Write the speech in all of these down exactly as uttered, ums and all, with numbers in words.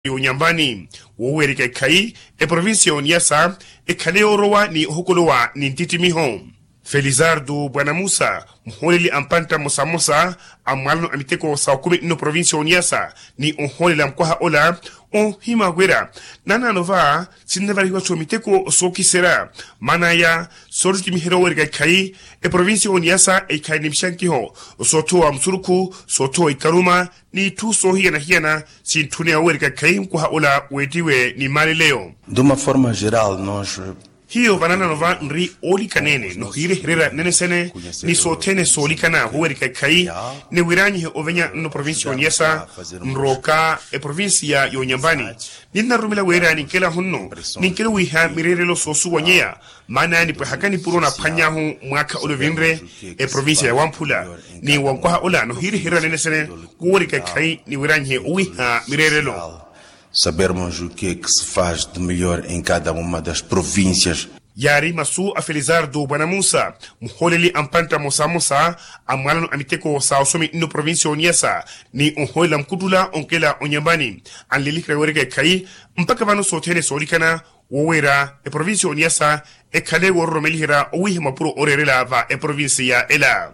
y'onyambani. Woowerika ekhayi, eprovincia y'oniyasa ekhale yoorowa ni ohokolowa ni nttittimiho. Felizardo bwanamusa, muhooleli a mpantta mmosamosa a mwalano a miteko sa okumi nno provincia y'oniyasa, ni ohoolela mukwaha ola, ohima wira nanaano va sinnavarihiwa-tho miteko sookiserya. Maan'aya, soottimiherya owerika ekhayi, eprovincia y'oniyasa ekhale ni mixankiho soothowa musurukhu, soothowa ikaruma, n'itthu soohiyana-hiyana sintthune owerika ekhayi mukwaha ola weettiwe ni malileyo. Duma forma geral nos. Hiyo vananano va nri oolikaneene nohiirehererya nene sene ni sothene soolikana vowerika ekhayi, ni wiranyihe ovenya nno provincia y'oniyasa nrooka eprovincia y'onyambani. Ninnarumela wira ninkela hunno ninkela wiiha mireerelo soosuwanyeya. Maana nipwehaka nipuro naphwany'ahu mwaakha ole ovinre eprovincia ya wamphula, ni wankwaha ola nohiirehererya nene sene kuwerika ekhayi ni wiranyihe owiiha mireerelo. Sabermos o que é que se faz de melhor em cada uma das províncias. Yaari masu a felizardo bwanamusa, muhooleli a mpantta mmosamosa a mwalano a miteko sa osomi nno provincia y'oniyasa, ni ohoolela mukuttula onkela onyambani. Anleliherya weereka ekhayi mpakha vano sothene soolikana, woweera eprovincia y'oniyasa ekhale woororomeliherya owiiha mapuro ooreerela va eprovincia ela.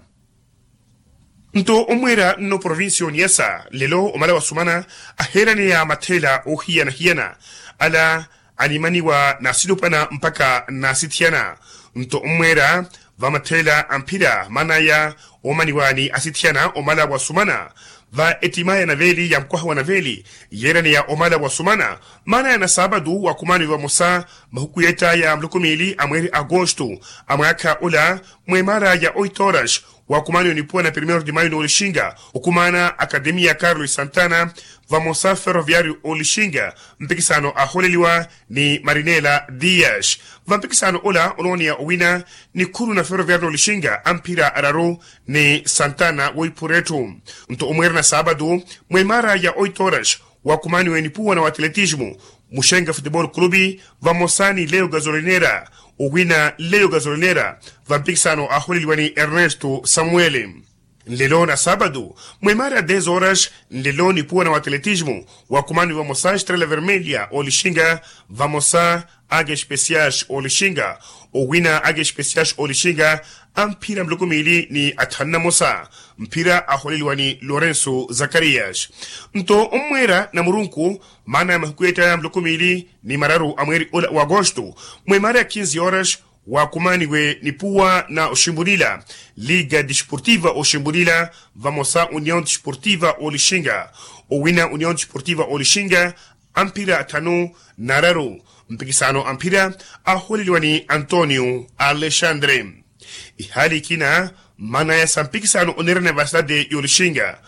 Nto omweera nno provincia y'oniyasa nlelo omala wasumana aheeraneya matheela oohiyana-hiyana, ala animaniwa n'asilupwana mpakha n'asithiyana. Nto omweera va matheela a mphira maan'aya oomaniwa ni asithiyana omala wasumana, va ettimaya naveeli ya mukwaha wa naveeli yeeraneya omala wasumana. Maan'aya na saapatu wakumaniwe vamosa mahuku yeett'aya muloko miili a mweeri agosto a mwaakha ola, mwemaara ya oito horas wakumaniwe nipuwa na primero de mayo n'olixinga, okumaana akademiya carlos santana, vamosa ferroviario olixinga mpikisano ahooleliwa ni marinela dias. Vampikisano ola onooneya owina nikhuru na ferroviario n'olixinga a mphira araru ni santana woipura etthu. Nto omweerana saapatu mwemaara ya oito horas wakumaniwe nipuwa na waatletismo muxenga futebol clube, vamosa ni leo gasolinera, owina leo gasolinera vampikisano ahooleliwa ni ernesto samuel. Nlelo na saapatu mwemaara ya dez horas nlelo nipuwa na waatletismo wakumaniwe vamosa estrela vermelha olixinga, vamosa ake especiais olixinga, owina ake especiais olixinga a mphira muloko miili ni athanu na mosa. Mphira ahooleliwa ni lorenso zakarias. Nto omweera na murunku maana ya mahuku yeett'aya muloko miili ni mararu a mweeri ola wa agosto mwemaara ya kinzi horas wakumaniwe nipuwa na oximbulila liga desportiva oximbulila, vamosa union desportiva olixinga, owina union desportiva olixinga a mphira athanu na araru. Mpikisano a mphira ahooleliwa ni antonio alexandre. Ihaali ikina maan'aya sa mpikisano oneerana va sitade y'olixinga.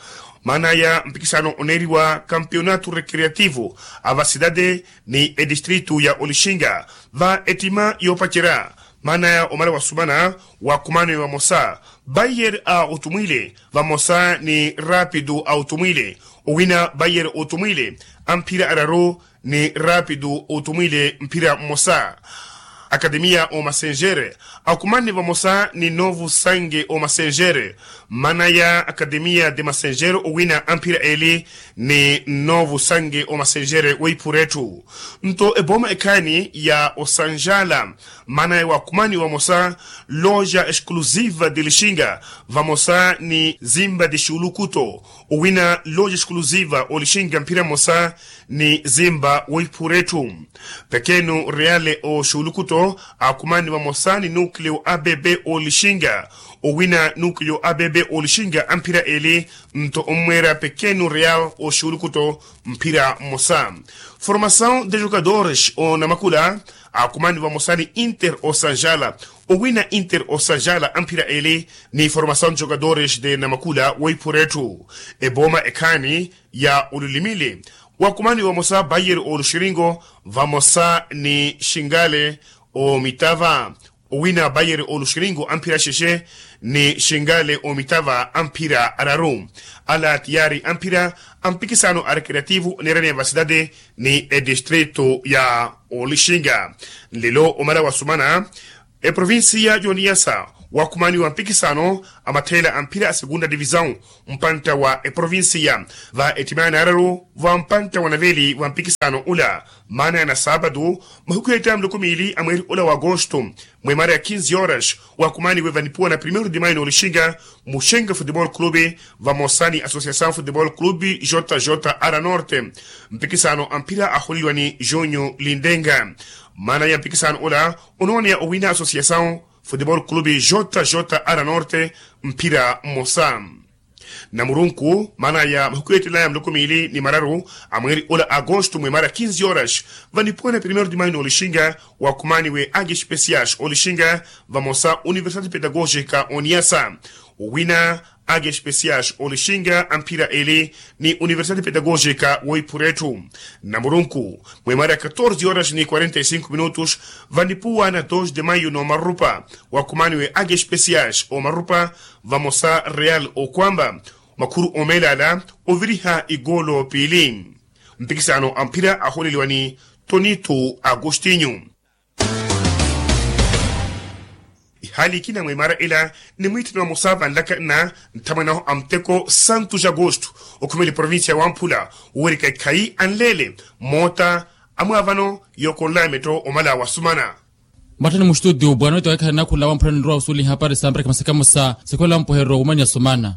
Maan'aya mpikisano oneeriwa kampeonato recreativo a va sitade ni edistritu ya olixinga, va ettima yoopacerya maan'aya omala wasumana wakumaniwe vamosa bayer a otumwile, vamosa ni rapido a otumwile, owina bayer otumwile a mphira araru ni rapido otumwile mphira mmosa. Akademiya omasengere akumanne vamosa ni novo sange omasengere. Maan'aya akademiya de masengere owina a mphira eli ni novo sange omasengere weiphura etthu. Nto ebooma ekhaani ya osanjala maan'aya wakumaniwe vamosa loja exclusiva de lixinga, vamosa ni zimba de xulukuto, owina loja exclusiva olixinga mphira mmosa ni zimba woiphura etthu. Pekenu reale oxulukuto akumanne vamosa ni nukleo abb olixinga, owina nukleo abb olixinga a mphira eli. Nto omweera pekenu real oxulukuto mphira mmosa. Formasaw de jogadores onamakula akumanne vamosa ni inter osanjala, owina inter osanjala a mphira eli ni formasaw de jogadores de namakula woiphura etthu. Ebooma ekhaani ya olulimile wakumaniwe vamosa bayer oluxiringo, vamosa ni xingale omitava, owina bayer oluxiringo a mphira xexe ni xingale omitava a mphira araru. Ala tiyaari a mphira a mpikisano a recreativo oneeraniya va sitade ni edistritu ya olixinga. Nlelo omala wasumana eprovincia y'oniyasa Wakhumaniwa mpikisano a matheela a mphira a segunda divisaw mpantta wa eprovincia va ettimaya naararu va mpantta wa naveli va mpikisano ula. Maana ya nasaapatu mahuku yettaya muloko miili a mweeri ula wa agosto, mwemara ya kinzi horas wakhumaniwe vanipuwa na primeiro de maio n'olixinga muxenga futebol clube vamosa ni associasaw futebol clube jjr norte. Mpikisano a mphira aholeliwa ni junio lindenga. Maana ya mpikisano ula onooneya owina associasaw futebol clube jjr norte mphira mmosa. Namurunku maana ya mahuku yeettelaya muloko miili ni mararu a mweeri ola agosto mwemara kinzi horas vanipuwene primeiro de maio n'olixinga wakhumaniwe age especias olixinga vamosa universidade pedagógica oniyasa. Owina age especias olixinga a mphira eli ni universidade pedagógica woiphura etthu. Namurunku mwemara katorze horas ni quarenta e cinco minutos vanipuwa na dos de maio n'omarupa wakhumaniwe age especias omarupa vamosa real okwamba makhuru omeelala oviriha igolo piili. Mpikisano a mphira aholeliwa ni tonito agostinho. Ihaali ikina mwemara ila ni mwiitthani wa mosa vanlaka nna nthamwanaho a muteko santu jagosto okhumela eprovincia ya wamphula wowerika ikhayi anleele moota amwaavano yookonlaya metto omala wasumana. Mwattani muxituti ubwana wettiwa ekhala nakhula wamphula ninrowa osuweliha hapari sa mparaki masakamusa sikholela mpuheryo wumanya sumana.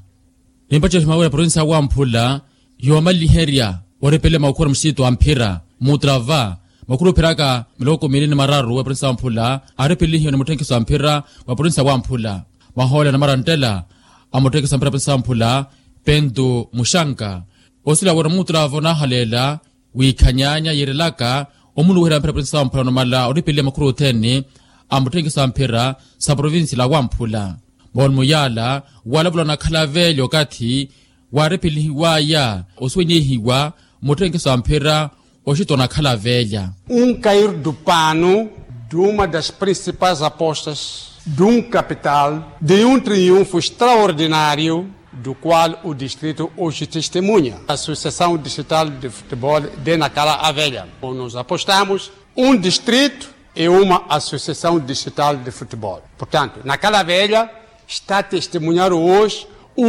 Nimpattye ohimawira provincia ya wamphula yoomaliherya oripele makhuru muxititu a mphira mutrava makhuru opheraka miloko miili ni mararu wa provincia ya wamphula aripelihiwa ni mutthenkiso a mphira wa provincia ya wamphula. Mahoolela na maranttela a mutthenkiso a mphira wa provincia ya wamphula pentu muxanka osila wira mutrava onahaleela wiikhanyaanya yiirelaka omuluwihela mphira provincia ya wamphula numala oripeliha makhuru othene a mutthenkiso a mphira sa provincia la wamphula. Moolumo yaala walavula onakhala velya okathi waarepelihiwaya osuwenyehiwa mutthenkiso a mphira oxita onakhala velya. Um cair do pano de uma das principais apostas de um capital de um triunfo extraordinário do qual o distrito hoje testemunha, a associação distrital de futebol de nakala avelha. Nos apostamos um distrito e uma associação distrital de futebol. Portanto nakala avelha está testemunhar hoje o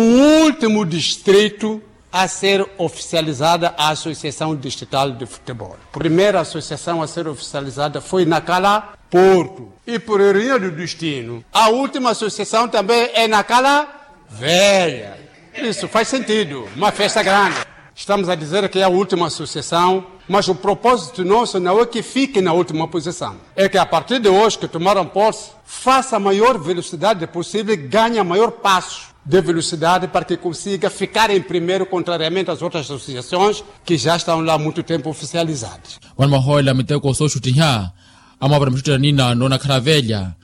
último distrito a ser oficializada a associação distrital de futebol. Primeira associação a ser oficializada foi nakala porto e por ironia do destino a última associação também é nakala velha. Isso faz sentido, uma festa grande. Estamos a dizer que é a última associação, mas o propósito nosso não é que fique na última posição, é que a partir de hoje que tomaram posse faça a maior velocidade possível e ganhe a maior passo de velocidade para que consiga ficar em primeiro contrariamente às outras associações que já estão lá há muito tempo oficializadas. Vano mahoolela miteko sooxuttiha amwaavana muxuttiha nina noonakhala velya.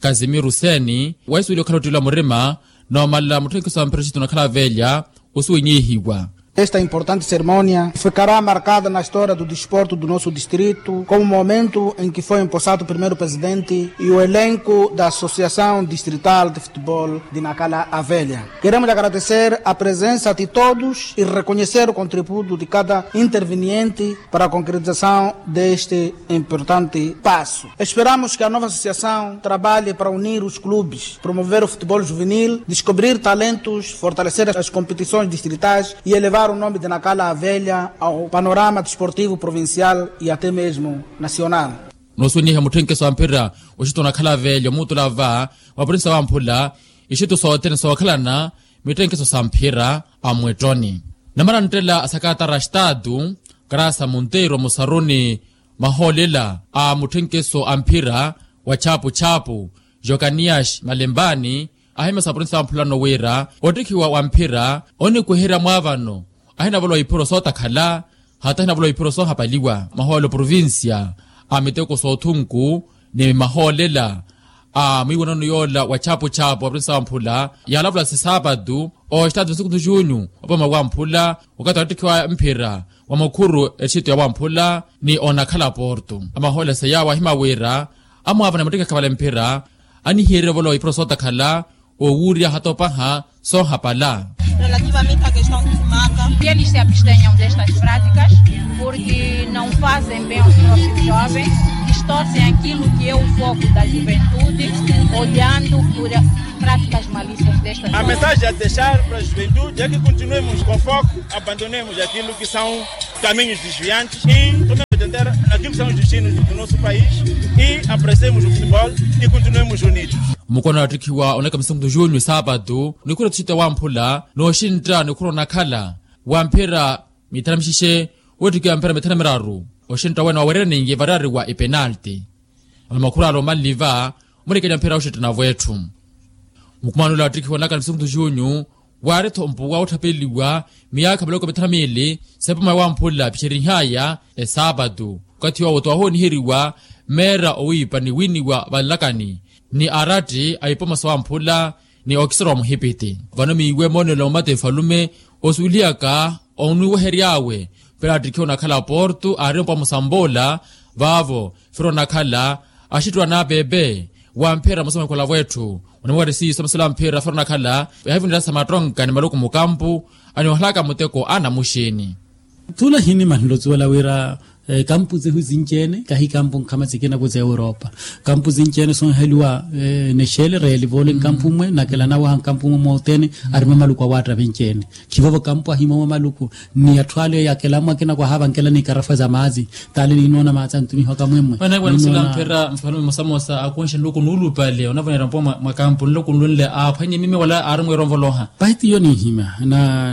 Casimiro seni waisuweliwa okhala ottiila murima noomala mutthenkiso a mphira oxita onakhala velya osuwenyehiwa. Esta importante cerimónia ficará marcada na história do desporto do nosso distrito como momento em que foi empossado o primeiro presidente e o elenco da associação distrital de futebol de nakala avelha. Queremos agradecer a presença de todos e reconhecer o contributo de cada interveniente para a concretização deste importante passo. Esperamos que a nova associação trabalhe para unir os clubes, promover o futebol juvenil, descobrir talentos, fortalecer as competições distritais e elevar o nome de nakala avelha ao panorama desportivo provincial e até mesmo nacional. Noosuwenyeha mutthenkiso a mphira oxita onakhala avelha omuutula va wa provincia wamphula ixitu sothene sookhalana mitthenkiso sa mphira a mwettoni. Namaranttela a sakatara a estatu karasa monteiro musaruni mahoolela a mutthenkiso a mphira wa chapu chapu jokanias malembani ahimya sa provincia wamphulano wira ottikhiwa wa mphira onikweherya mwaavano ahinavolowa iphiro sootakhala hata ahinavolowa iphiro soohapaliwa mahoolelo provincia a miteko soothunku ni mahoolela a mwiiwanano yoola wa chapu chapu wa provincia wamphula yaalavula sisaapatu oxitatu nsuku ntu junho opama wamphula okathi wattikhiwa mphira wa mukhuru ettixitu ya wamphula ni onakhala porto. Amahoolela seyawo ahima wira amwaavana muttikakha vale mphira anihiyererye ovolowa iphiro sootakhala owuurya hatopaha soohapala. Relativamente a questão de maka, que eles se abstenham destas práticas porque não fazem bem aos nossos jovens. Torcem aquilo que é o foco da juventude, olhando por práticas malícias desta. A mensagem a deixar para a juventude é que continuemos com foco, abandonemos aquilo que são caminhos desviantes e tomemos dianteira naquilo que são os destinos do nosso país e apreciemos o futebol e continuemos unidos. Mukono wattikhiwa onaka misuntu junyu saapatu nikhura tuxita wamphula nooxintta nikhura onakhala wamphira mithana mixexe. Wettikiwa mphira mithana miraru oxintta wene wawerereneiye variyari wa epenalti. Alomakhurala omanliva omurekelya mphira oxintta navo etthu. Mukumanula wattikhiwa onaka misuntu junyu waari-tho mpuwa wotthapeliwa miyaakha miloko mithana miili sepoma wamphula pixerihaya esaapatu okathi owo twahooniheriwa meera owiipa ni wiiniwa vanlakani ni aratti a ipoma sawamphula ni okisera wa muhipiti. Vano miiwe moonelo mate efalume osuwelihaka onwiwehery'awe mphira attikhiwa onakhala porto aari ompuwa musamboola vaavo firo onakhala axittuwa n'apepe wamphira musomekola vwetthu. Onimwari siiso maselo amphira firo onakhala yahivinirasa mattonka ni maluku mukampu aniohalaka muteko anamuxini. Thula hinimanhela osuwela wira kampu zehu zinci-ene kahi kampu nkhama sikina ku za europa. Kampu zinci-ene sonheliwa nexele reelivole nkampu mmwe nakela nawaha nkampu mmwe mootene arima maluku awaatta vinci-ene. Khivovo kampu ahimowa maluku ni atthu ale yakela mmwe akina kwahava nkela ni karafa za maazi tale ninoona maazi antumihiwaka mwemmwe. Onavonera mphira mfano mosamosa akonxe nluku nuulupale onavonera mpuwa mwa kampu nluku nlunle aaphwanye mimi wala aari mwiira onvoloha. Pahi tiyo ninhimya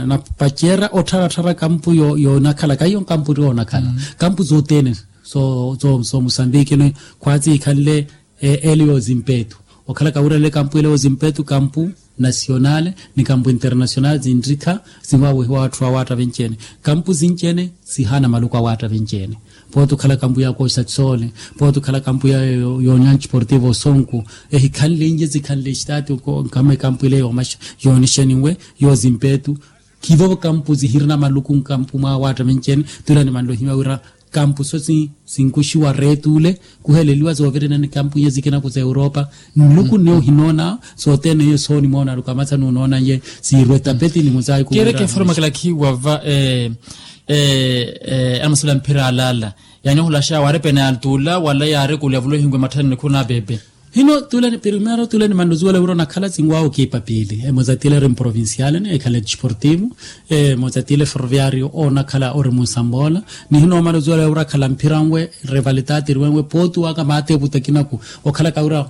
na pacerya ottharattharya kampu yoonakhala kaiyo nkampu tti oonakhala kampu zothene so musambiki ni khwatsi ikhanle ele yoozimpetu okhala kawirale kampu ele yoozimpetu kampu nasionale ni kampu internasionale zinrikha sinwawehiwa atthu awaatta vinci-ene. Kampu zinci-ene sihaana maluku awaatta vinci-ene. Pooti okhala kampu ya kooxa tsoole pooti okhala kampu ya union sportivo osonku ehikhanlenye sikhanle estaati nkama ekampu ile yoomaxa yoonixeninwe yoozimpetu. Khivovo kampu zihirina maluku nkampu mwaawaatta vinci-ene. Tula nimanle ohimya wira kampu so sinkuxiwa reetu ule kuheleliwa zoovirina ni kampu iye zikina ku za europa nluku nne ohinoona sothene iye soonimoona aluku amathanu onoona iye siirwe tapeti ni muzaayi kuwira. Keereke eforomakela khiiwa va anamaselo a mphira alaala yaani ohulaxa waari penalti ula wala yaari kulyavula ohingu ematthani nikhuru n'apepe. Hino tule ni primero tule ni manluzuwela wira onakhala sinwaawo kiipa piili emoza tile eri mprovinciale ni ekhala disportivo emoza tile ferroviario oonakhala ori munsamboola. Ni hino manluzuwela wira akhala mphira nwe rivalitati eriwenwe pooti waka maati evuta kinaku okhala kawira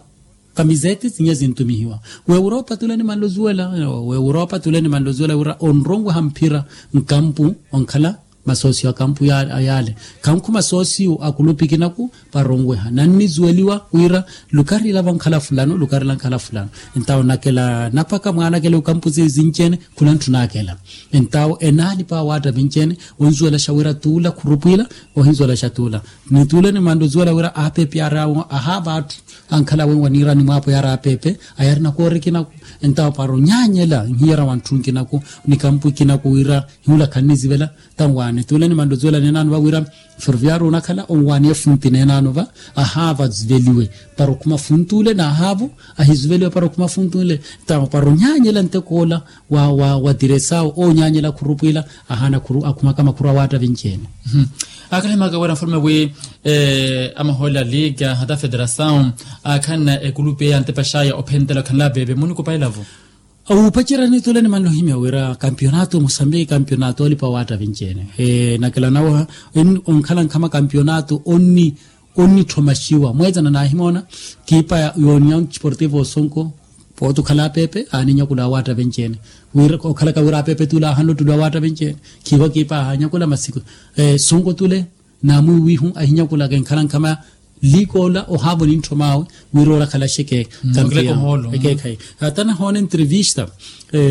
kamisete sinya sintumihiwa. W'europa tule ni manluzuwela w'europa tule ni manluzuwela wira onronweha mphira nkampu onkhala masoosiyo a kampu yaale khankhu masoosiyo a kulupi kinaku varonweha nannizuweliwa wira lukari ila vankhala fulano lukari ila nkhala fulano. Entawo nakela napaka mwaanakela ekampu zinci-ene khula ntthunakela. Entawo enaalipa awaatta vinci-ene onzuwelaxa wira tuula khurupwiila ohinzuwelaxa tuula. Ni tuula nimantta ozuwela wira aapepe yaari ahaava atthu ankhala wenwa niira nimwaapo yaari aapepe ayarina koori kinaku. Entawo para onyaanyela nhiyara wa ntthu nkinaku ni kampu ikinaku wira hiula khannizivela. Tanwaani tule nimantta ozuwela neenaano va wira ferroviario onakhala onwaani efunti neenaano va ahaava aziveliwe para okhuma funti ule n'ahaavo ahiziveliwe para okhuma funti ule. Tanwa para onyaanyela nteko ola wa wa wa diresawo oonyaanyela khurupwiila ahaana akhumaka makhuru awaatta vinci-ene. Aakhala himaka wira nfalume wi amahoole a liga hata federasaw aakhanna ekulupi eya antepaxaya ophentela okhanla pepe munikupaelavo. Wuupacerya nitule nimanle ohimya wira kampionato musambiki kampionato olipa waatta vinci-ene. Nakela nawa onkhala nkhama kampionato onni onnitthoma xiwa mweetsana naahimoona kiipa ya union sportivo osonko. Pooti okhala apepe aaninyakula awaatta vinci-ene wira okhalaka wira apepe tule aahanle ottuli awaatta vinci-ene. Khiivo kiipa aahanyakula masi sonko tule naamwiiwihu ahinyakulaka enkhala nkhama liikoola ohaavo nintthomaawe wira oolakhalaxe ekeekhayi. Hata nahoona entrevista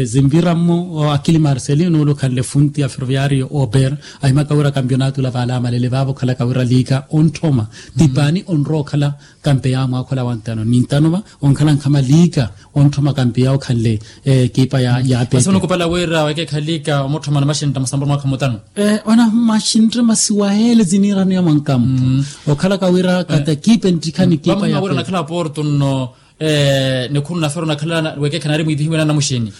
zinvira mmo akili marcelino ole okhanle funti ya ferroviario ober ahimaka wira kampionato ula vaale amalele vaavo okhalaka wira liika ontthoma tipaani onrowa okhala kampeya mwaakhola wa ntano ni ntano va onkhala nkhama liika ontthoma kampeya okhanle ekipa ya ya pete. Basi onukupala wira wekeekhalika omutthomana maxintta musambula mwaakha mutano. Ona maxintta masiwa ele ziniiraniya mwankampu okhalaka wira kata ekipa enttikha ni ekipa ya pete. Wira onakhala porto nno nikhuru nafero onakhala wekeekha naari mwiivihiwe naana muxini.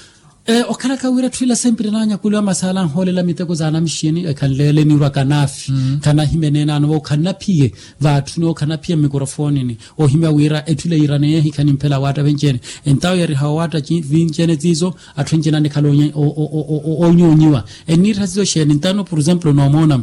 Okhalaka wira etthu ila sempre naanyakuliwa masala anhoolela miteko za anamixini ekhanleele niirwa kanaafi. Khanahimya eneenaano va okhanaphiye vaatthuni okhanaphiya mmikorofonini. Ohimya wira etthu ila yiiraneyehe ikhanimphela awaatta venci-ene. Entawo yariha owaatta vinci-ene tiizo atthu enci-ene anikhala oonyoonyiwa. Enniittha tiizo xeeni ntano por exemplo noomoona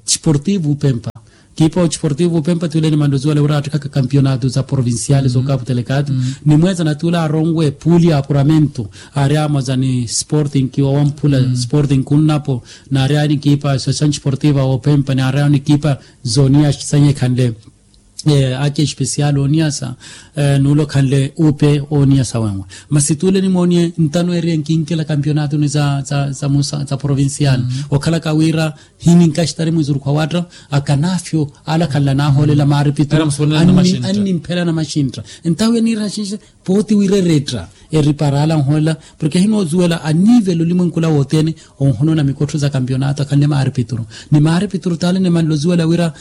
ciportivo upempa. Kiipa ociportivo upempa tuuleni manduzi wale wira attikhaka kampionato za provinciale zookapu telekato. Nimweeza na tuula aronwe puuli ya apuramento aari amoza ni sporting kiwa wamphula sporting kunnapo. Naari aani kiipa association ciportiva wa upempa naari aani kiipa zoniya sanyekhanle ake especial oniyasa. Nuulokhanle upe oniyasa wenwe masi tuule nimooniye ntano eri enkinkela kampionatoni za provincial okhalaka wira hininkastari mwizuruku awaatta akanafyo ala khanla nahoolela maaripituru annimphela namaxintta. Entawo eniira xinxe pooti wira eretta eripara ala anhoolela porke ahinoozuwela anivela olimwenkula wothene onhonoona mikottho za kampionato akhanle maaripituru ni maaripituru taale nimanloziwela wira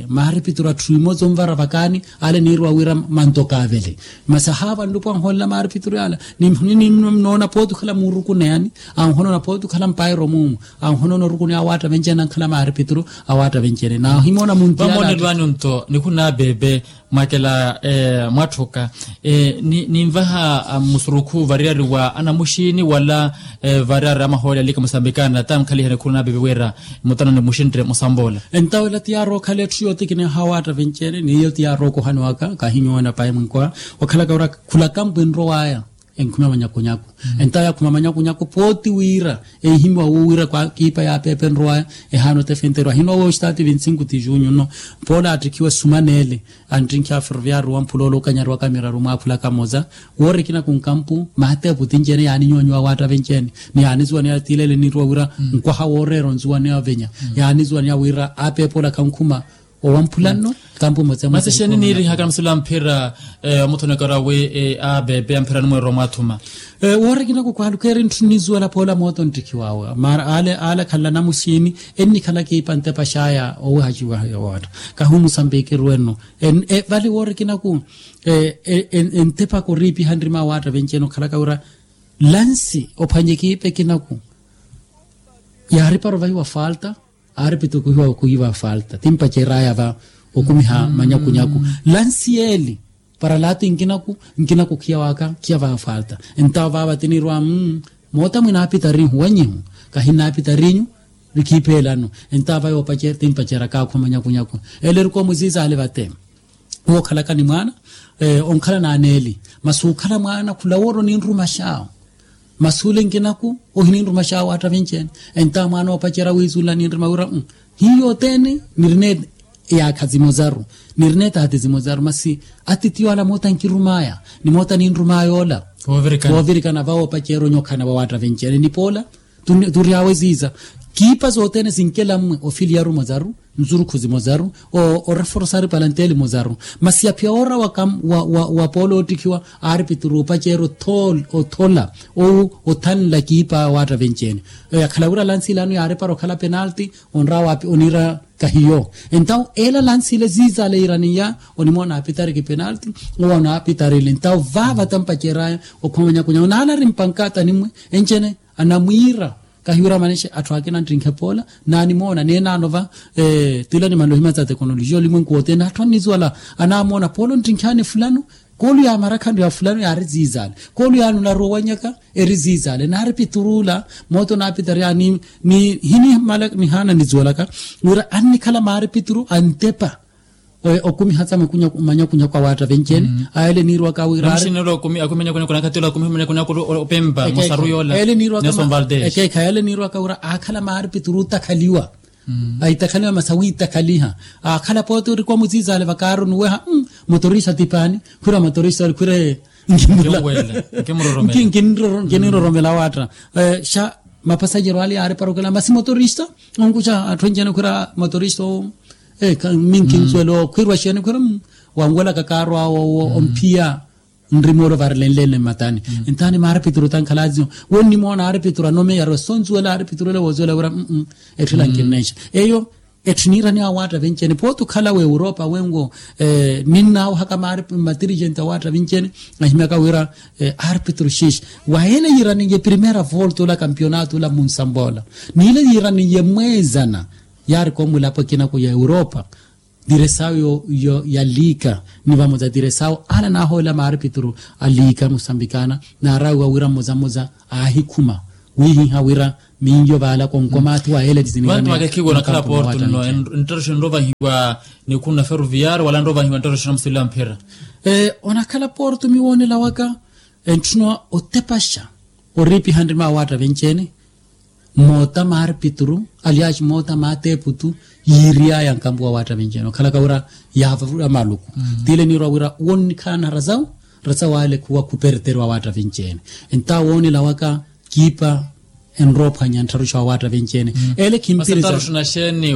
maaripituru atthu imoza onvara vakaani ale niirwa wira manto kaavele. Masi ahaava nlupo anhoolela maaripituru yaala nimnoona pooti okhala muurukuneyani anhonoona pooti okhala mpairo muumu anhonoona orukuneya awaatta venci-ene ankhala maaripituru awaatta venci-ene naahimoona munti yaala. Vamoonelwani onto nikhunaapeepe mwakela mwatthuka ninvaha musurukhu variyari wa anamuxini wala variyari amahoole alika musambikana ta nkhaliha nikhunaapeepe wira mutano nimuxintte musampoola. Entawo ela ti yaari okhala etthu yootikineha awaatta venci-ene n'iyo ti yaari okohani waka kahinyoona payi mwinkoha okhalaka wira khula kampu enrowaya enkhuma manyakunyaku. Entawo yakhuma manyakunyaku pooti wira ehimiwa wuwira kwa kiipa yaapeepe enrowaya ehaana otefenterwa ahinowa wooxitaati vinti-sinku ti junyu nno poola attikhiwa esumaneele anttinkhi a ferroviario wamphula ole okanyariwaka miraru mwaakhulaka moza woorikina kunkampu maatepu tinci-ene yaaninyonyiwa awaatta venci-ene ni yaanizuwaneya tiilele niiruwa wira nkwaha wooreera onzuwaneya ovenya yaanizuwaneya wira apeepa olakha nkhuma owamphula nno. Kampu motse masi xeeni niirihaka msila mphira omuthonekera wi apeepe amphirani mweerwa mwaathuma. Woorikina kukwaluka eri ntthu nnizuwela poola mooto nttikhiwawe mara ale ale akhanla namuxini ennikhala kiipa ntepa xaaya owehaxiwa yowaatta kahi omusambiki erwe nno. Vale woorikinaku entepa koriipiha nrima awaatta venci-ene okhalaka wira lansi ophwanye kiipa ekinaku yaaripara ovahiwa falta aaripituru kuhiwa kuhiwa falta ti mpaceraya va okumiha manyakunyaku. Lansi yeeli para laati nkinaku nkinaku khiya waka khiya va falta. Entawo vaava tiniirwa moota mwinaapitari nhu wanyihu kahi nnaapitarinyu nikhiipheelano. Entawo va yoopacera ti mpaceraka akhuma manyakunyaku ele erikowa muziiza ale vate wookhalaka ni mwaana onkhala naaneeli masi okhala mwaana khula woori oninrumaxawo masi ole nkinaku ohininrumaxawo attavinci-ene. Entawo mwaana oopacerya wiizuula ninruma wira hiyo othene nirina eyaakha zimozaru nirina etaati zimozaru masi atitiyo ala moota nkirumaya ni moota ninrumaya ola. Voovirikana va woopacerya onyokhana wa waattavinci-ene ni poola tury'awe ziiza kiipa zothene zinkela mmwe ofiliyaru mozaru nzurukhu zimozaru oreforosari palanteli mozaru masi aphiya oora wa poola oottikhiwa aaripituru opacerya othola ou othanla kiipa waattavinci-ene. Yakhala wira lansi ilano yaaripara okhala penalti onrawa oniira kahiyo entawo ela lansi ile ziiza ale yiiraniya onimoona aapitari kipenalti owo anaapitari ile entawo vaava tampacerya okhoma manyakunyaku naala ari mpankata ni mmwe enci-ene anamwiira kahiwira manexe atthu akina nttinkhe poola naanimoona neenaano va tila nimanle ohimya tsa tekonolojiya olimwenku wothene atthu annizuwala anaamoona poola onttinkhe aani fulano koolu yaamarakha nri ya fulano yaari ziizaale koolu yaani onaruwa owanyaka eri ziizaale naari piturula moota onaapitari aani ni hinimmala nihaana nizuwalaka wira annikhala maari pituru antepa okumiha tsa manyakunyaku awaatta venci-ene. Ayele niirwaka wira ari namuxinelo akumi manyakunyaku nakhatila akumi manyakunyaku opempa musaru yoola nelson valdez ekeekha yele niirwaka wira aakhala maari pituru otakhaliwa aitakhaliwa masi awiitakhaliha aakhala pooti orikowa muziizaale vakaaru nuweha motorista tipaani khwira motorista khwire nkinroromela awaatta xa mapasajero ale yaariparokela masi motorista onkuxa atthu enci-ene khwira motorista owo minkinsuwela okhwirwa xeeni khwira wanwelaka kaaru awo owo omphiya nrimoolo varelenlene mmatani entaani maaripituru tankhalaaziyo wonnimoona aaripituru anomeyari osonzuwela aaripituru ele woozuwela wira etthu ela nkinnexa eyo Etthu niiraniya awaatta vinci-ene pooti okhala w'europa wenwo. Ninnaawuhaka maari matirijenti awaatta vinci-ene. Ahimyaka wira aarpitru xiixi wa ele yiiraniye primera volta ola kampionato ola munsambola n'ile yiiraniye mweezana. Yaari koomulapo ekinaku ya europa. Diresawu ya liika ni vamoza diresawu ala naahoolela maarpitru a liika musambikana naarawiwa wira mmoza mmoza aahikhuma wiihiha wira miiyo vaala konkomaathi wa ele. Vantu vakekhiwa onakhala porto nno enttaroxo enrovahiwa nikhuna ferroviario wala enrovahiwa enttaroxo namusulela mphira. Onakhala porto miwoonela waka entthuna otepaxa oriipiha nrima awaatta vinci-ene. Moota maarpitru alyaaxi moota maateeputu yiiriyaya nkampu wa waatta vinci-ene okhalaka wira yaavavula maluku. Tiile niirwa wira wonnikhaana rasawu rasawu ale khuwa khuperteriwa awaatta vinci-ene. Entawo woonela waka kiipa enroophwanya nttharuxo awaatta vinci-ene. Ele khimpiriza.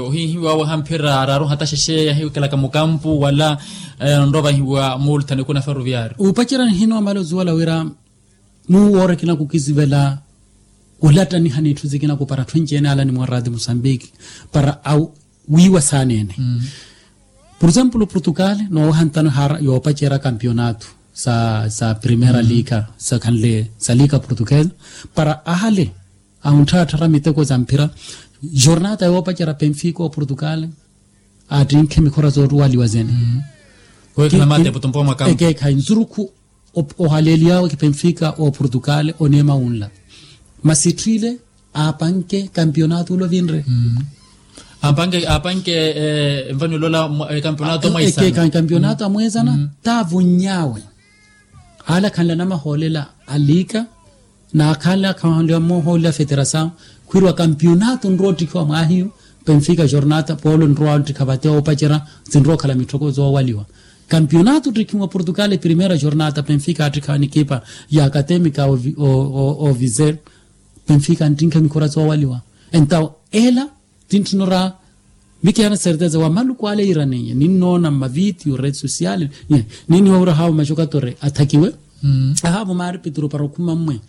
Ohihiwa wahamphira araru hata xexe yahiwikhalaka mukampu wala onrovahiwa multa nikuna ferroviario. Upacerya nihinoomala ozuwela wira nuuwoora ekinaku kizivela olattaniha n'itthu zikinaku para atthu enci-ene ala nimwarati musambiki para awiiwa saana-ene. Por example portugal noowaha ntano ehara yoopacerya kampionato sa primera liika sakhanle sa liika portugal para ahale awunttharattharya miteko za mphira. Jornata yoopacerya penfica oportugal attinkhe mikhora zooruwaliwa zene. Ekeekhayi nzurukhu ohaleeliyawe benfica oportugal oneema wunla masi etthu ile aapanke kampionato ula ovinre. Aapanke aapanke envani olola kampionato amweesana. Kampionato amweesana taavunny'awe. Ala khanla namahoolela a liika na khanla khanla mohoolela federasawu khwiiriwa kampionato nrowa ottikhiwa mwaahiyu. Benfica jornata polo nrowa ottikha vate oopacerya sinrowa okhala mitthoko zoowaliwa. Kampionato ottikhiwa portugal primera jornata benfica attikha nikipa ya academica oviser. Benfica nttinkha mikhora zoowaliwa entawo ela tintthuna ora mikihana certeza wa maluku ale yiiraniye ninnoona mmavitiyo rede social. Ninnihowa wira haavo maxokatore athakiwe ahaavo maari pitru para okhuma mmwe.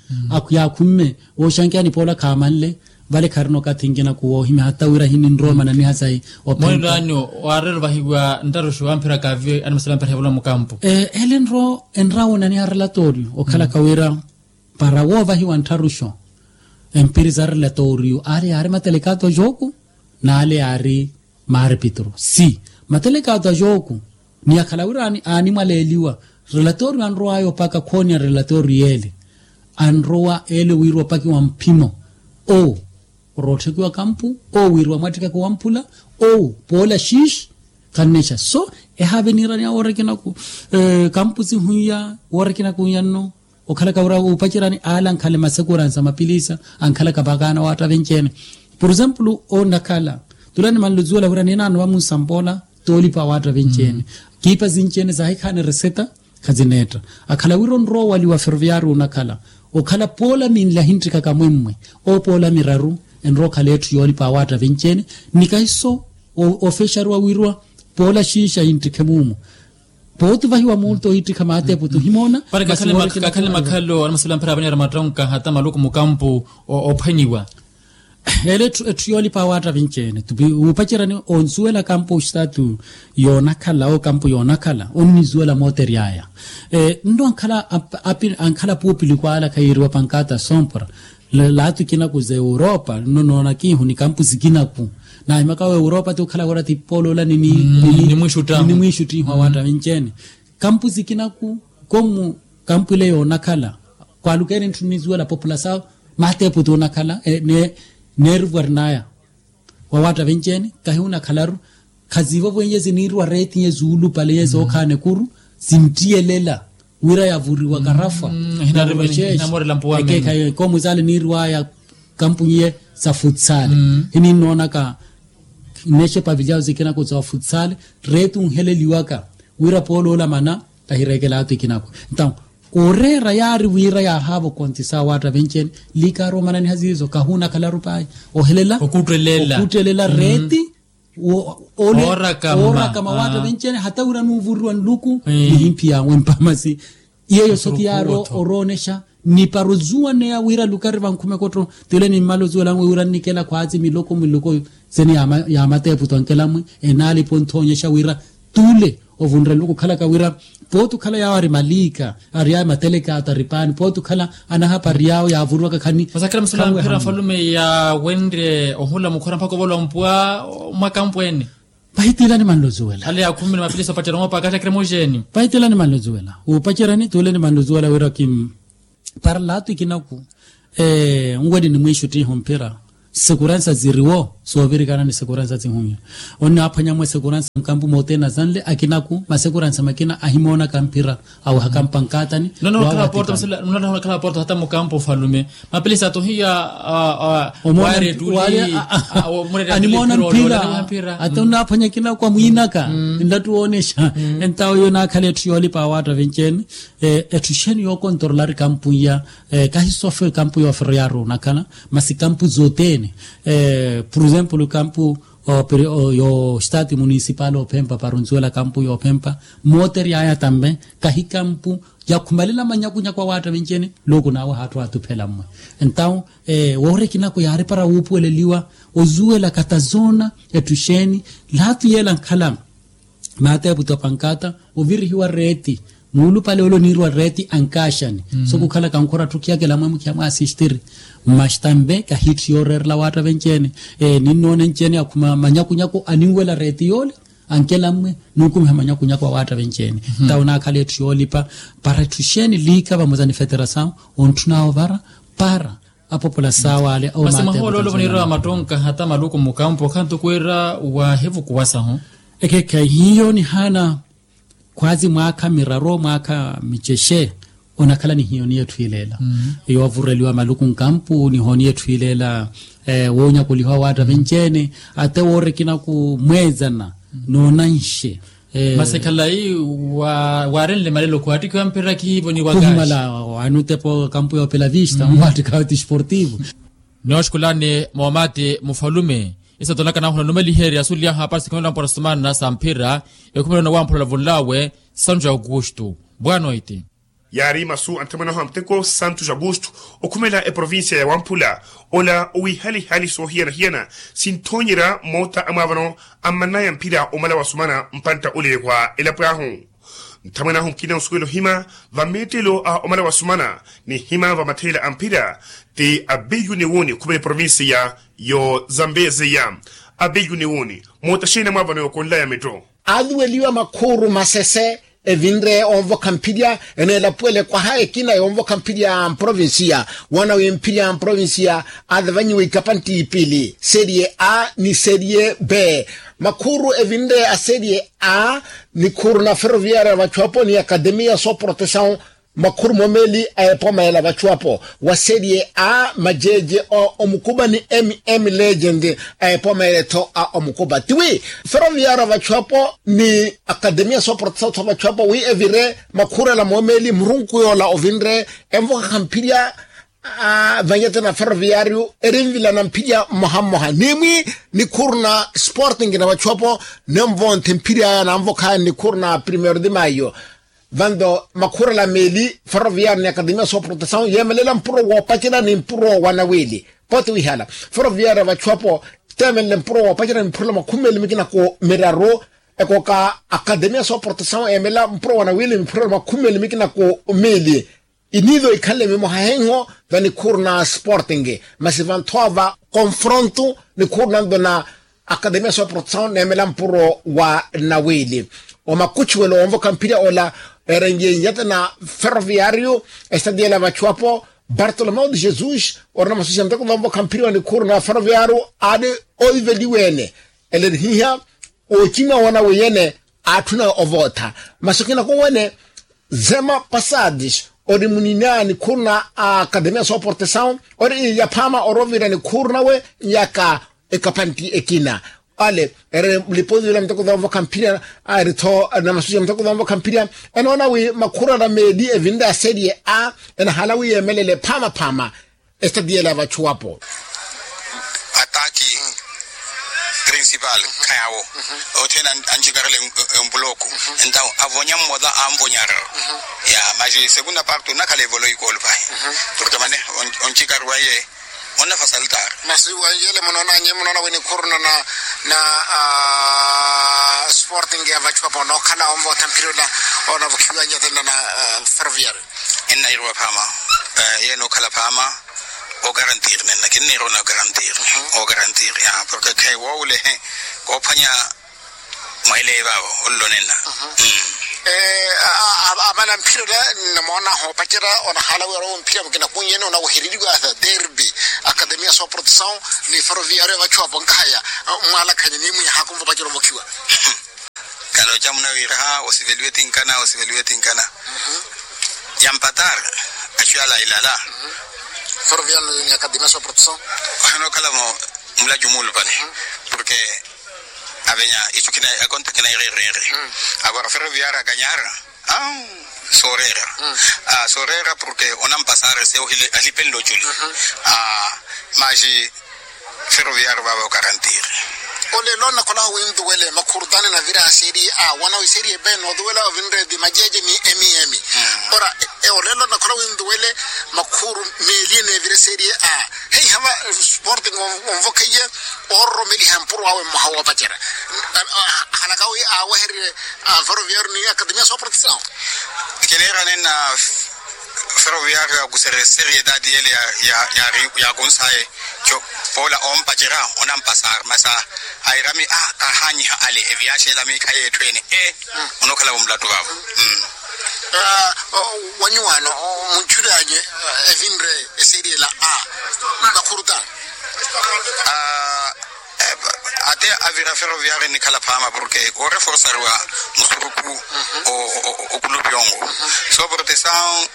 Yaakhumme wooxankeya nipoola khaamanle vale kharina okathi nkinaku woohimya hata wira hininrowa mananiha sayi. Mwenlo anyu waarelo vahiwa nttaruxo amphira kaavi animasala amphira hevula mukampu. Ele nro enrawo naniha relatorio okhalaka wira para woovahiwa nttharuxo empiri za relatorio ale yaari matelekato a joku n'ale yaari maarpitru si matelekato a joku. Ni akhala wira animwaleeliwa relatorio anrowaya opaka khooniya relatorio ele anrowa ele wiiriwa opakiwa mphimo. Owo orootthikiwa kampu owo wiiriwa mwattikaka owamphula owo poola xiixi. Khannexa so ehaave niiraniya woora ekinaku kampu sihuiya woora ekinaku wiiya nno. Okhalaka wira wuupaceryani ale ankhale masekurani sa mapilisa ankhalaka vakaana waatta vinci-ene. Por example onakhala tula nimanle ozuwela wira ninaano vamunsampoola toolipa waatta vinci-ene. Kiipa sinci-ene saahikhaani reseta khazineetta. Akhala wira onrowa owaliwa ferroviario onakhala okhala poola minle ahinttikhaka mwemmwe owo poola miraru enrowa okhala etthu yoolipa awaatta vinci-ene. Ni kahiso ofexariwa wiiriwa poola xiixi ahinttikhe muumu. Pooti ovahiwa multa ohittikha maateputu ohimoona. Kakhale makhalo animasala mphira avaniara mattonka hata maluku mukampu ophwanyiwa. Ele etthu yoolipa awaatta vinci-ene wuupaceryani onsuwela kampu oxitatu yoonakhala okampu yoonakhala onnizuwela mooteryaya. Nno ankhala api ankhala puupiliku ale akhayiiriwa pankata sompra laatu ikinaku za europa nno noonakihu ni kampu sikinaku. Naahimaka wa europa ti okhala wira ti poloola ni nimwiixuttihu awaatta vinci-ene. Kampu sikinaku komu kampu ile yoonakhala kwaalukeeni ntthu nnizuwela populasawu maateputu onakhala neerivwarnaya. Wawaatta vinci-ene kahi onakhalaru khaziivovweiye ziniiriwa reetiye zuulupale ye zookhaana ekuru sinttiyelela wira yavuriwa karafwa. Ekeekhayi komu saale niiriwaya kampunyi ye sa futsale hininnoonaka nnexe pavilyawu sikinaku za futsale reeti onheleliwaka wira pooloola mana kahireekela atu ikinaku. Ntawo oreera yaari wira yaahaava okontisa awaatta vinci-ene liikaaru omananiha ziizo kahuunakhalaru pahi ohelela okuuttelela reeti. Oorakama awaatta vinci-ene hata wira nuuvuriwa nluku nihimphi yaawe mpamasi. Iyeyo soki yaari oroonexa ni para ozuwaneya wira lukari vankhume kotto tile nimmala ozuwela nwe wira nnikela khwaazi miloko miloko. Seni yaamateepu tonkela mwi enaalipa onthoonyexa wira tule ovunrela okukhalaka wira pooti okhala yaawo ari maliika ari ayo matelekaata ari paani pooti okhala anahapa ari yaawo yaavuruwaka khani. Masakira musula mphira mfalume yaawenrye ohula mukhora mpakha ovolwa mpuwa. Mwakampweene. Pahitiilani manlozuwela ale yaakhumile mapilisa opacerya moopaaka axakira emoxeeni. Pahitiilani manlozuwela wuupaceryani tuuleni manlozuwela wira kim para laatu ikinaku. Nwe ni nimwiixuttiha omphira sikuransa ziriwo soovirikana ni sikuransa sihunya. Onnaphwanya mwe sikuransa mukampu moothene asanle akinaku masikuransa makina ahimoonaka mphira awehaka mpankaatani. Nonakhala porta hata mukampu ofalume mapelesi atohiya. Ware tuli animoona mphira. Ata onnaphwanya kinaku amwiinaka nlattu woonexa entawo iyo naakhala etthu yoolipa awaatta vinci-ene. Etthu xeeni yookontorolari kampu iya kahi sofwe kampu yooferoyaari onakhala masi kampu zothene. Pur exemplo kampu yo estati municipal ophempa para onsuwela kampu yoophempa mooteryaya tambe kahi kampu yakhumalela manyakunyaku awaatta vinci-ene. Luuku naawe haatthu aatuphela mmwe entawo woorya ekinaku yaari para wuupuweleliwa ozuwela katazoona etthu xeeni. Laatu yeela nkhala maateepu ti opankata ovirihiwa reeti muulupale ole oniiriwa reeti ankaaxani. So kukhalaka nkhora atthu khiyakela mwe mukhiya mwaasistiri masi tambe kahitthu yooreerela waatta venci-ene. Ninnoona enci-ene akhuma manyakunyaku aninwela reeti yoole ankela mmwe nuukumiha manyakunyaku awaatta venci-ene. Tawo naakhala etthu yoolipa para etthu xeeni liika vamosa ni feterasawu ontthunaawo ovara para apopula saawale. Masi mwaha oloolo voniirwa mattonka hata maluku mukampu okhantuku wira waahivukuwa sahu. Ekeekhayi hiyo nihaana khwaazi mwaakha miraru mwaakha micexe onakhala ni hiyo niyo etthu ileela yoovureliwa maluku nkampu ni hiyo niyo etthu ileela woonyakoliha owaatta venci-ene. Ate woorya ekinaku mweezana noonanxe. Masi khalayi waarenle malelo khuwattikhiwa mphira khihivoniwaka khuhimala. Anutepo kampu yoopela vista mwaattikhawe ti esportivo. Nooxukhulani moomati mufalume isatonaka nahula numeliherya suliyaha para sikhomelela mpora simaana sa mphira ekhumela onawamphula olavunlawe santu ja augusto. Bwanoiti. Yaari masu a nthamwanahu a muteko santu ja augusto okhumela eprovincia ya wamphula ola owiihalihali soohiyana-hiyana sinthoonyerya moota amwaavano ammanaya mphira omala wasumana mpantta ole wa elapo ahu. Nthamwene ahu mukina osuwela ohima vameettelo a omala wasumana ni hima vamatheela a mphira ti abeyu ni wuni okhumela eprovincia yo zambezi ya abeyu ni wuni. Moota xeeni amwaavano yookonlaya metto. Aluweliwa makhuuru masese evinre onvokha mphirya eneelapuwele kwaha ekina yonvokha mphirya mprovincia. Wana wi mphirya mprovincia azavanyiwa ikapantti ipili serie a ni serie b. Makhuuru evinre a serie a nikhuuru na ferroviaria vachuapo ni akademia sooprotesawu. Makhuuru moomeeli a epooma ela vachuapo wa serie a majeje a omukuba ni mm legend a epooma ela etho a omukuba tiwi ferroviaria vachuapo ni akademia sooprotesawu tho vachuapo wi evire makhuuru ela moomeeli murunku yoola ovinre envokha mphirya. Vanyete na ferroviario erinvilana mphirya mmoha mmoha nimwi nikhuuru na sporting na vachuapo nenvonthe mphirya aya nanvokhaya nikhuuru na primeiro de maio. Vanto makhuuru ala meeli ferroviario ni akademia sooprotesawu yeemelela mpuro woopacerya ni mpuro wa nawili pooti wihala ferroviario vachuapo teemelela mpuro woopacerya ni mpuro la makhumi meeli mikina ku miraru. Ekooka akademia sooprotesawu eemelela mpuro wa nawili ni mpuro la makhumi meeli mikina ku miili. Iniivo ikhanle mimoha henho va nikhuuru na sporting masi vanthowa va confronto nikhuuru nanto na akademia sooprotesawu neemela mpuro wa nawili. Omakuchuwelo onvokha mphirya ola erenye nyata na ferroviario estadiela vachuapo bartolomeo de jesus orina masusi ya muteko vanvokha mphirya wa nikhuuru na ferroviario aali oiveliwene. Elerihiha ocina wona wiyene aatthuna ovootha masi okina kowene. Zema passadis ori munina nikhuuru na akademia sooportesawu ori yaphaama orovirya nikhuuru nawe nyaka ekapantti ekina. Ale eri liposi ila muteko zoovoka mphirya eri-tho na masusi ya muteko zoovoka mphirya. Enoona wi makhuuru ara meeli evinre a serie a enahala wi yeemelele phaamaphaama. Estati yela ya vachuwapo. Ataki principal khayawo othene anchikarele empuloko entawo avonya mmosa anvonyarero ya maxi segunda parte onakhala evolo ikolo pahi. Porke mane onchikari waye Onnafasaltari. Masi wanjele munoonanye munoona wini khuruna na na sporting ya vachupa pono khala onvotha mpirula. Ona vukhiwa nyatena na ferroviario. Enna irwa phama. Yeno khala phama. O garantir nenna kinni irwa na garantir. O garantir ya porque khe wole ko phanya. Mwaile vavo ollo nenna. Amana mpira ola namoona hoopacera onahaala wira owo mpira mukina kunyene onawohereriwa derby. Akademia soprotesaw ni ferroviario ya vachu apo nkahaya. Mwalakhanye ni mwihaku nvopacera ovokhiwa. Kaloca munawiraha osiveliwe tinkana osiveliwe tinkana. Yampatar. Achu yala ilala. Ferroviario ni akademia soprotesaw. Ohanokhalamo. Mulacu muulupale. Porque avenya ichu kina akonta kina irereere. Agora ferroviario akanyara. Soreera. Soreera porque onampasare se ohile alipenle oculi. Maji ferroviario vava okarantiri. Olelo nakhola winduwele makhurutani navira serie a wana wi serie b noduwela ovinredi majeje ni emiemi. Ora olelo nakhola winduwele makhuru meli enevire serie a. Heihava sporting onvokheiye ororomeliha mpuro awe mmoha woopacera. Halaka wi awehererye ferroviario ni akademia soprotesaw. Keleera nenna ferroviario yakusere seriedade yele yakunsaye. Poola ompacera onampasar masa airami a kahanyiha ale eviaxela miikhayi etthu ene e. Onokhalavo mulatu vavo. Wanyuwano munchulanye evinre eseriela a makhurutano. Ate avira ferroviario nikhala phama porque oreforsariwa musuruku. Okulupi ongo soprotesaw.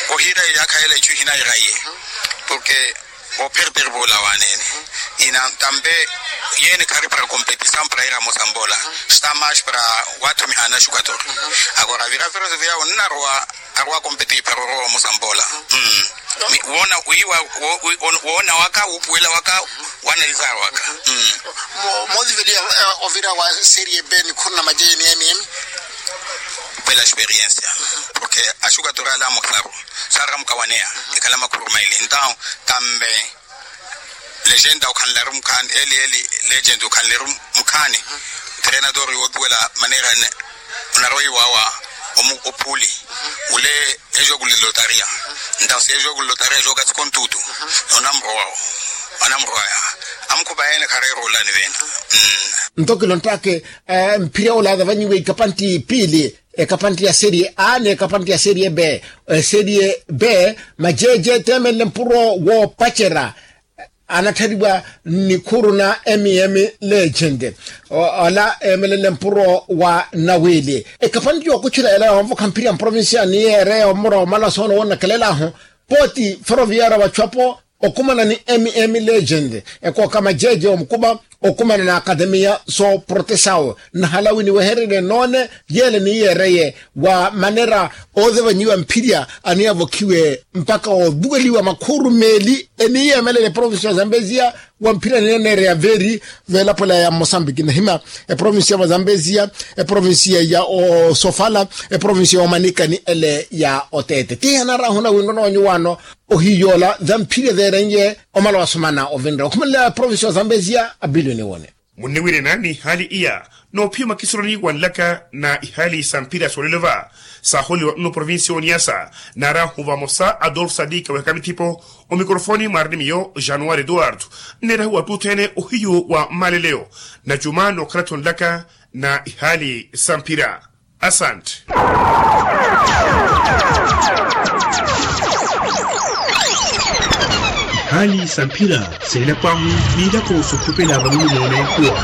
Ohira yakhayela ichu ihinairaiye porque operder vola wanene. Ina tambe yene khari para competisaw para ira mosambola. Sta mash para wathu mihana shukator. Agora vira ferroviario nnarowa arowa competir para orowa mosambola. Wona wiwa wona waka wupuwela waka. Wanalizar waka. Motiveliya ovira wa serie b nikhuruna majeje ni emiemi. Pela experiensia porque ashukator ala amosaru. Saaramuka waneya ekhala makhuru maili entaw tambe. Legenda okhanleru mukhaani eli eli legenda okhanleru mukhaani. Treinador yootuwela manera ene. Onaroiwawa omu opuli ule ejoku lilotaria. Entaw si ejoku lilotaria ejoka sikontutu. Onamurowao onamurowaya. Amukhupa ene khareerolani vena. Nto kilonttake mphira ola atavanyiwe ikapantti piili. Ekapantti ya serie a n'ekapantti ya serie b. Serie b majeje teemenle mpuro woopacera. Anatthariwa nikhuru na emiemi legend. Ola eemelele mpuro wa nawiili ekapantti yookuchula ela yoonvokha mphira mprovincia ni yeereya omura omala soono wonnakelelaahu. Pooti ferroviario vachu apo okumana ni emiemi legend ekooka majeje omukuma okumana na akademia sooprotesaw. Nnahala wi niwehererye noone yeele niiyeereye wa manera ootevanyiwa mphirya aniavokhiwe mpakha ooduweliwa makhuru meeli eniiyeemelele eprovincia ya zambezia. Wa mphirya nineneereya veeri veelapwela ya mosambiki nahima eprovincia ya mozambezia eprovincia ya osofala eprovincia ya omanikani ele ya oteete tiihanarahuna winrono wanyu wano. Ohiyoola thamphirya theerenye omala wasomana ovinre okhumelela provincia wa zambezia abiliyoni wone. Munniwirina ni ihaali iya noophiya omakisurani wa nlaka na ihaali sa mphira soolelo va saaholiwa nno provincia oniasa naarahu vamosa adolf sadika weheka mithipo. Omikorofoni mwaari ni miyo januwari eduwardo nneerahu wattuutha ene ohiyu wa mmaleleyo na juma nookhala-tho nlaka na ihaali sa mphira. Asante. Hali sa mphira seelapwahu miilako sokhupela vanulumene kuwa.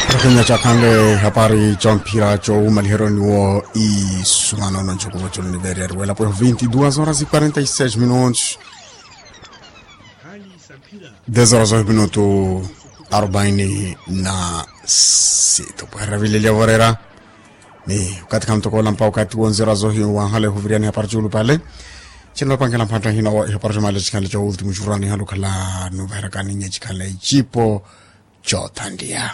Rakinya cakhanle hapari camphira cowumaliheryo niwo isumano noncukuvo culu niveerya riwelapweho vinti duas horas e quarenta e seis minutos. Dez horas ohi minutu arubaini na sita opweherera vilelya vorera. Ni okathi khamutokoola mpa okathi wonzera zohi wanhala ehuviriyani hapari cuulupale. Cinlopangela mphantta hina wa ihapari cumale cikhanle cowuti mucururani halukhala nuvaherakani nye cikhanle icipo. Cothanliya.